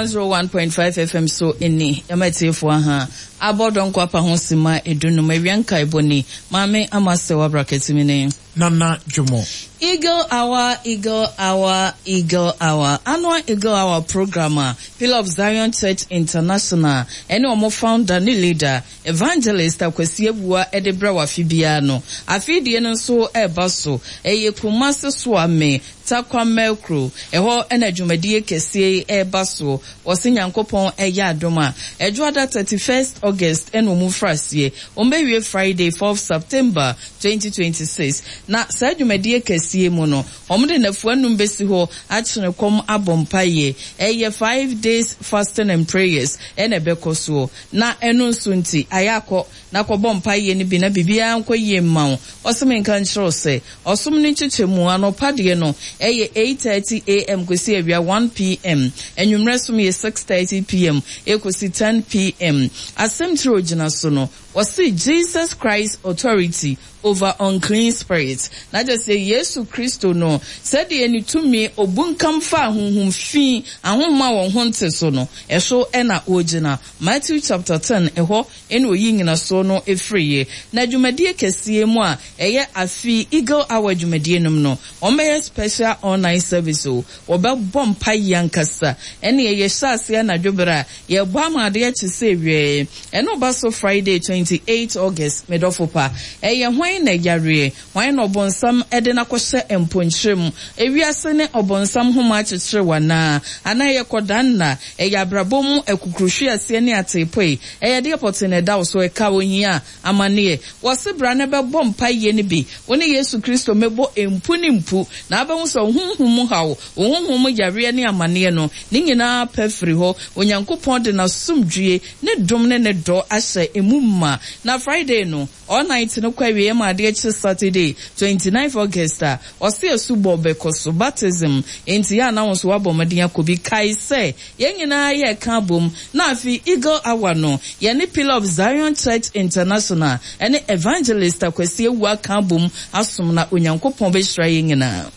101.5 FM so ni, yɛma atiefoɔ aha abɔ dɔnkɔ apa ho sima edunum awia nkaebɔ ni, Maame Ama Sewa Brakatimi ne. Nana Dwomo. Eagle Hour, Eagle Hour, Eagle Hour, Annual Eagle Hour program a Pillar of Zion Church International ɛne wɔn founder ne leader, Evangelist Akwasi Awuah de brɛ wo afe biara no, afe deɛ no nso reba so. Ɛyɛ Kumasi Soame, Tarkwa Merkro, ɛhɔ na dwumadie kɛseɛ yi reba soɔ. Wɔse Nyankopɔn yɛ adom a, Ɛdwoada 31st August na wɔn firi aseɛ. Wɔn bɛwie Friday 4th September 2026. Na saa dwumadie kɛseɛ yi mu no, wɔde nnafua nnum bɛsi hɔ akyene kɔm abɔ mpaeɛ. Ɛyɛ five days fasting and prayers na ɛbɛkɔ soɔ. Na ɛno nso nti, ayɛ akɔ na kɔbɔ mpaeɛ no bi na biribiara nkɔ yie mma wo. Ɔse menka nkyerɛ wo sɛ, ɔsom no nkyekyɛmu, anɔpa deɛ no ɛyɛ 8:30 AM kɔsi awia 1 PM, anwummerɛ som yɛ 6:30 PM kɔsi 10 PM. Asɛm tire a ɔgyina so no, ɔse Jesus Christ Authority over unclean spirits. Na kyerɛ sɛ Yesu Kristo no, sɛdeɛ ne tumi obunkam faa honhom fi, ahonhom a wɔn ho nte so no, ɛso na ɔgyina. Matthew chapter ten, ɛhɔ na ɔyi nyinasoɔ no firiiɛ. Na dwumadie kɛseɛ mu a ɛyɛ afe yi Eagle Hour dwumadie nom no, wɔbɛyɛ special all night service o, wɔbɛbɔ mpaeɛ ankasa. Ɛnneɛ yɛhyɛ aseɛ anadwo berɛ a yɛrebɔ ama adeɛ akye sɛ wɛɛ. Ɛno ba so Friday 28 August, me dɔfo pa. Ɛyɛ hwan na yareɛ? Hwan na ɔbonsam de no akɔhyɛ mponkyerɛ mu? Ewiase ne ɔbonsam nhoma akyekyere wo anaa? Anaa ɛyɛ kɔdaanna? Ɛyɛ abrabɔ mu akukuruhweaseɛ ne ateepoe? Ɛyɛ deɛ pɔtee na ɛda wo so? Ɛka ohia amaneɛ? Wɔse bra na bɛbɔ mpaeɛ no bi, wo ne Yesu Kristo mmɛbɔ mpu ne mpu, na wobɛhu sɛ wo honhom mu haw, wo honhom mu yareɛ ne amaneɛ no, ne nyinaa pɛ firi hɔ. Onyankopɔn de N'asomdwie, Ne dom ne Ne dɔ ahyɛ emu ma. Na Friday no, All night no kɔ awieɛ ma adeɛ kye Saturday 29th August a, ɔse asubɔ bɛkɔ so, baptism, enti yɛ a na wo nso woabɔ mmɔden akɔ bi. Kae sɛ yɛn nyinaa yɛreka abom na afei Eagle Hour no, yɛne Pillar of Zion Church International ne Evangelist Akwasi Awuah aka abom asom na Onyankopɔn bɛhyira yɛn nyinaa.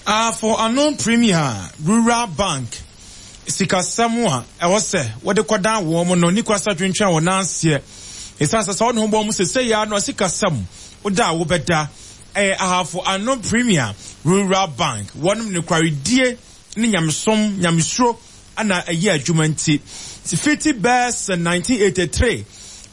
Afo Ano Premier Rural Bank sikasɛm a ɛwɔ sɛ wɔde kɔdan wɔn no ne kwasa twentwɛn wɔn nan aseɛ. Ɛsiane sɛ sɛ wɔne ho bɔ wɔn sesei ara no sikasɛm woda a wobɛda. Ɛyɛ Ahafo Ano Premier Rural Bank. Wɔnom nokwaredie ne nyamesom, nyamesuro na ɛyɛ adwuma nti, fiti bɛɛ sɛ 1983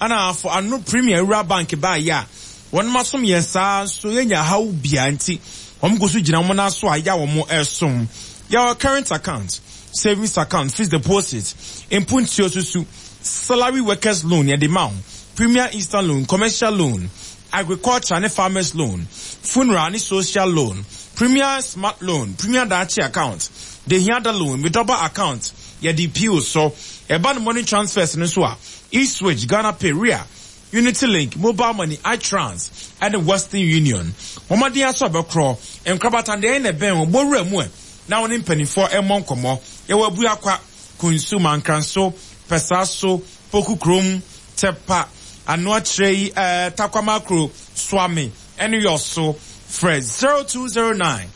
ana Ahafo Ano Premier Rural Bank baeɛ a, wɔnom asom yɛn saa nso yɛnya haw biara nti, wɔn gu so gyina wɔn nan so a yɛ a wɔn resom. Yɛwɔ current account, savings account, fixed deposit, mpuntuo susu, salary workers loan yɛde ma wo, premier instant loan, commercial loan, agriculture ne farmers loan, funeral ne social loan, premier smart loan, premier daakye account, dehiada loan, medɔba account, yɛde pii wo so. Ɛba no money transfers no nso a, eSwitch, Ghana Pay, Ria, Unity Link, Mobile Money, iTrans, ɛne Western Union. Wɔn mmɔden ara sɛ wɔbɛkorɔ nkorabata deɛ na ɛbɛn wɔn. Bɔ wura mu ɛ na wo ne mpanimfoɔ mmɔ nkɔmmɔ. Yɛwɔ Abuakwa, Kunsu, Mankranso, Pɛsaaso, Poku Kurom, Tɛpa, Anoakyerɛ yi, ɛɛ, Takwamakro, Suame, ɛne Yɔso. Frɛ 0209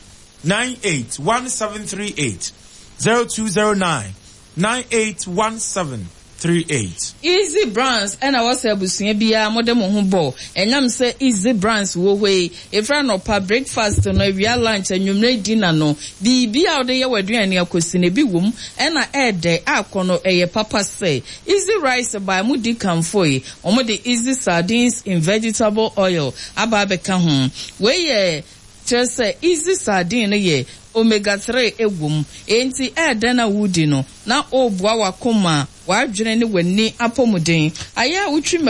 98 1738, 0209 981738. Easy Brands na wɔsɛ abusua biara mode mo ho bɔ. Ɛnam sɛ Easy Brands wɔ hɔ yi, ɛfiri anɔpa breakfast no, awia lunch, anwummerɛ dinner no, biribiara a wode yɛ w'aduane akɔsi no, ebi wom na ɛɛdɛ akɔ no, ɛyɛ papa sɛ Easy Rice bae, modi kamfoe, wɔde Easy Sardines in Vegetable Oil aba abɛka ho. Wei yɛ. Kyerɛ sɛ, easy sardine no yɛ omega 3 wom, enti ɛyɛ dɛn a woredi no na woreboa w'akoma, w'adwene ne w'ani apɔmuden. Ayɛ a wotwi mako.